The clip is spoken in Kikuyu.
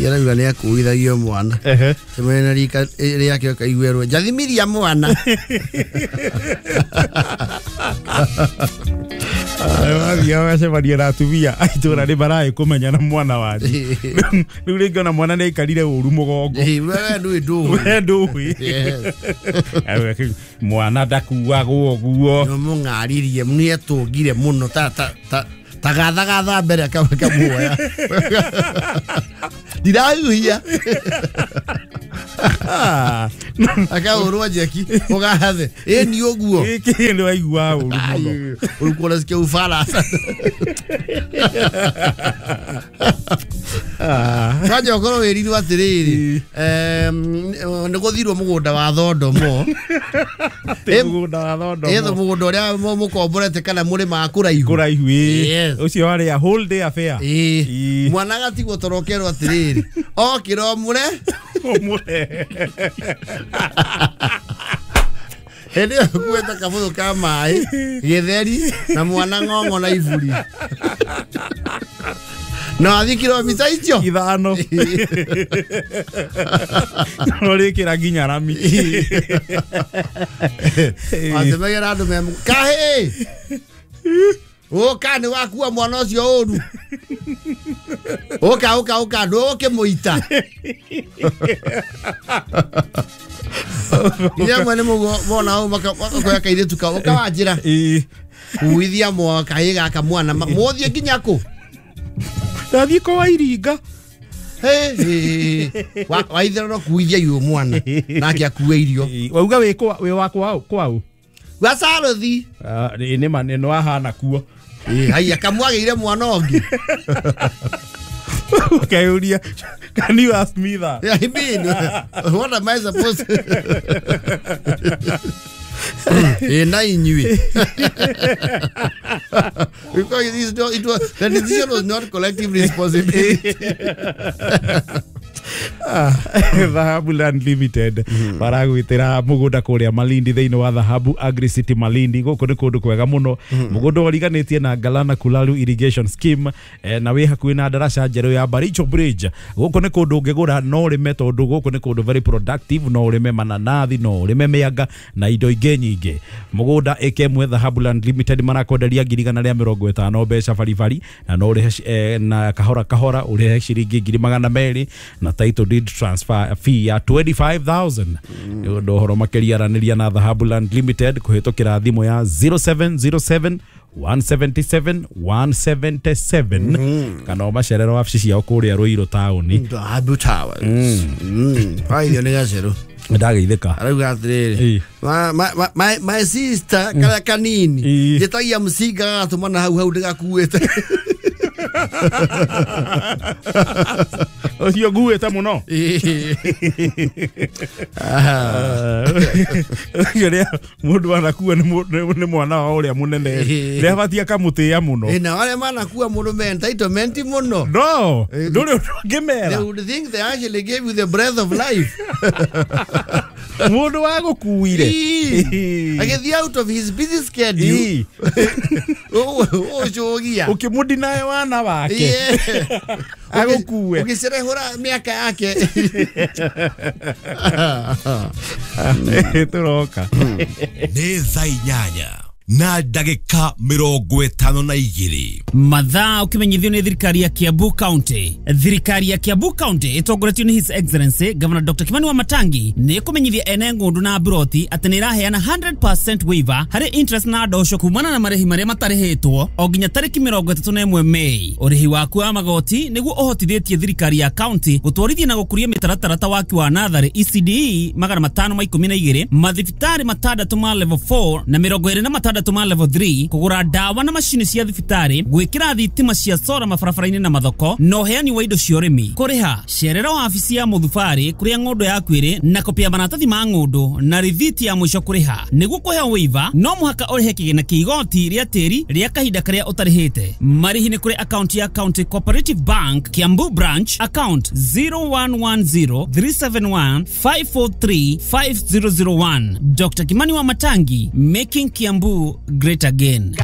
Yarauga nĩ akuithagio mwana cemania na rika rĩake ũkaiguerwo njathimiria mwana. Wathiaga ũgacemania na atumia a itũra nĩ maraĩ kũmenya na mwana wanyu. Rĩu rĩngĩ ona mwana nĩ aikarire ũru mũgongo. We ndũĩ ndũĩ. We ndũĩ. Yes. Mwana ndakuagwo ũguo. Nĩmũng'aririe nĩetũngire mũno ta ta ta ta gathagatha mbere akamuoya ndirahuhia akahũrwo njeki ũgathe ĩni ũguo gĩkĩ nĩ waigua ũru mũno. Ulikuwa unasikia Ufaransa. Kwanja ũkorwo wĩrirwo atĩrĩrĩ, nĩ gũthirwo mũgũnda wa Thondomo. Mũgũnda wa Thondomo. Ĩtho mũgũnda ũrĩa mũkomborete kana mũrĩmaga kũraihu. Kũraihu ĩĩ. Yes. Ũcio warĩ a whole day affair. Ĩĩ. Mwana agatigwo toro ũkerwo atĩrĩrĩ, okĩra ũmũre. Ũmũre. Hĩndĩ ĩyo ũkuĩte kabũyũ ka maĩ, gĩtheri, na mwana ng'ong'o na iburi. No athiĩ kilomita icio 5. No rĩkĩra nginya rami. Wacemagĩra andũ me kahĩ. Ũka nĩ wakua mwana ũcio ũru. Ũka ũka ũka ndũkĩmũita. Nginya amwe nĩ mona ũũ makoya kairĩtu kao ũka wanjĩra. Kuithia kahĩ gaka mwana mũthiĩ nginya kũ? Ndathiĩ kwa Iringa. Waithera no kuithia irio mwana nake akue irio. Wauga wĩ kwa wĩ wa kwao kwao? Gwa Sarothi. Nĩ ma nĩ wahana kuo. Haiya kamwagĩire mwana ũngĩ. Ũkeyũria, can you ask me that? I mean, what am I supposed to? Na inyuĩ. Because it is not, it was, the decision was not collective responsibility. Dhahabu Land Limited maragwitira mugunda kuria Malindi thiini wa Dhahabu Agri City Malindi. Guku ni kundu kwega muno, mugunda uriganitie na Galana Kulalu Irrigation Scheme, na wi hakuhi na ndaraca njeru ya Baricho Bridge. Guku ni kundu ungigura no urime, tondu guku ni kundu very productive, no urime mananathi, no urime mianga na indo ingi nyingi. Mugunda ĩka ĩmwe Dhahabu Land Limited marakwenderia 150,000 mbeca baribari, na no urihe na kahora kahora urihe ciringi 200,000 na title deed transfer fee ya 25,000. Nĩ ũndũ ũhoro makĩria aranĩria na Dhahabu Land Limited kũhĩtũkĩra thimũ ya 0707 177 177 kana ũmacerere wabici ciao kũrĩa Ruiru taũni. Dhahabu Towers. Waithio nĩ gacerũ. Ndageithĩka. Arauga atĩrĩrĩ, my sister karĩa kanini njĩtagia mũcinga gagatũmana hau hau ndĩgakuĩte. Ũcio nguĩte mũno. Ũcio rĩa mũndũ anakua nĩ mwana wa ũrĩa mũnene nĩ abatie akamũtĩĩa mũno. Na arĩa manakua mũndũ me entitlement mũno. No, ndũrĩ ũndũ ũngĩmera. They would think they actually gave you the breath of life. Mũndũ wa gũkuire. Agĩthiĩ out of his busy schedule. Ũcũgia. Ũkĩmũdinae wana wake. Agũkue. Ũgĩcerehũra mĩaka yake. Tũroka. Nĩ thaa 8 na ndagĩka 52. Mathaa ũkĩmenyithio nĩ thirikari ya Kiambu County. Thirikari ya Kiambu County ĩtongoretio nĩ His Excellency Governor Dr. Kimani Wamatangi nĩ ĩkũmenyithia ene ng'ũndũ na mburoti atĩ nĩ ĩraheana 100% waiver harĩ interest na ndosho kumana na marĩhi marĩa matarĩhĩtwo o nginya tarĩki 31 Mei. Ũrĩhi waku wa magoti nĩguo ũhotithĩtie thirikari ya county gũtwarithia na gũkũria mĩtaratara ta waki wa natharĩ ECDE 512, mathibitarĩ 6 ma level 4 na 26 ma level 3, kũgũra ndawa na macini cia thibitarĩ, gwĩkĩra thitima cia sora mabarabara-inĩ na mathoko, na ũheani wa indo cia ũrĩmi. Kũrĩha cerera wabici ya mũthubarĩ kũrĩa ng'ũndũ yaku ĩrĩ na kopi ya maratathi ma ng'ũndũ na rithiti ya mũico kũrĩha. Nĩguo kũheo waiver no mũhaka ũrĩhe kĩgĩna kĩa igoti rĩa tĩri rĩa kahinda karĩa ũtarĩhĩte. Marĩhi nĩ kũrĩ akaunti ya County Cooperative Bank Kiambu Branch, account 0110 371 543 5001. Dr. Kimani Wamatangi, making Kiambu great again.